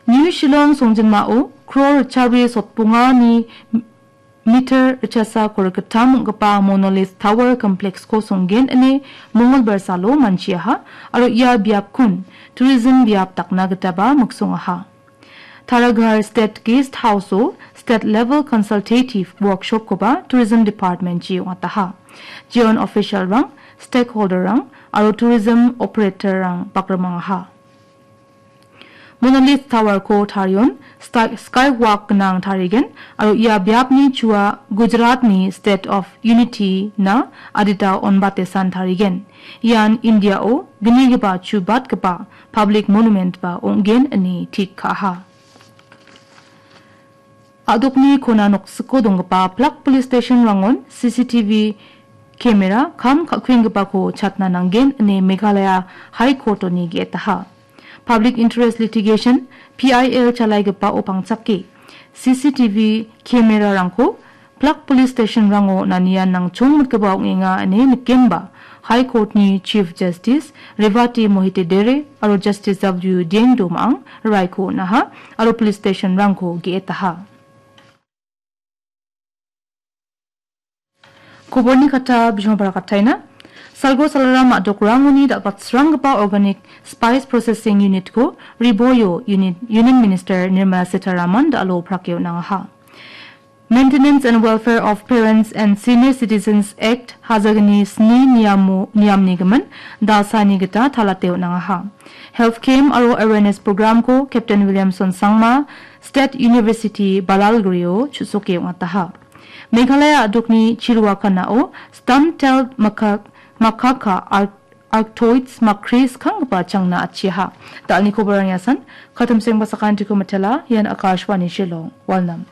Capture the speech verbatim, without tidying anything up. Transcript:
New Shillong songjinmao crore ritchari sotbongani meter ritchasa korikgittam ong·gipa Monolith Tower Complex-ko songgen ine Mongolbar salo manchiaha aro ia biapkon tourism biap dakna gitaba miksongaha. Taraghar State Guest House-o State Level Consultative Workshop-koba Tourism Department-chi ong·ataha. Jeon official-rang, stakeholder-rang aro tourism operator-rang bakrimangaha. Monolith Tower-ko tarion sta-, skywalk gnang tarigen aro ia biapni chua Gujarat-ni State of Unity-na adita onbatesan tarigen. Ian India-o gnigipa chubatgipa public monument-ba ong·gen ine tik ka·aha. A·dokni kona noksiko donggipa Plak Police Station-rangon C C T V camera kam ka·kuenggipako chatna nanggen ine Meghalaya High Court-oni ge·etaha. Public Interest Litigation, P I L chalaigipao pangchake C C T V camera-rangko Plak Police Station-rango nanian nangchongmitgipa ong·enga ine nikenba High Court-ni Chief Justice Revati Mohite Dere aro Justice W Dieng Domang raiko on·aha aro police station-rangko ge·etaha. Koborni kata bijmo barakataina. Salgo Salaram a·dokrangoni dal·batsranggipa Organic Spice Processing Unit-ko Riboyo Unit, Union Minister Nirmala Sitharaman da·alo prake on·angaha. Maintenance and Welfare of Parents and Senior Citizens Act hajagni sni niamo-, niamni gimin dalsaini gita talate on·angaha. Health camp aro awareness program-ko Captain Williamson Sangma, State University Balalgurio chu·soke ong·ataha. Meghalaya a·dokni Chiruakanao stump-tailed macaque, macaque-a Ar-, Arctoids makris kanggipa changna atchiaha. Da·alni koborang iasan, katimsengba sakantiko mitela, ian Akashvani Shillong, Walnam.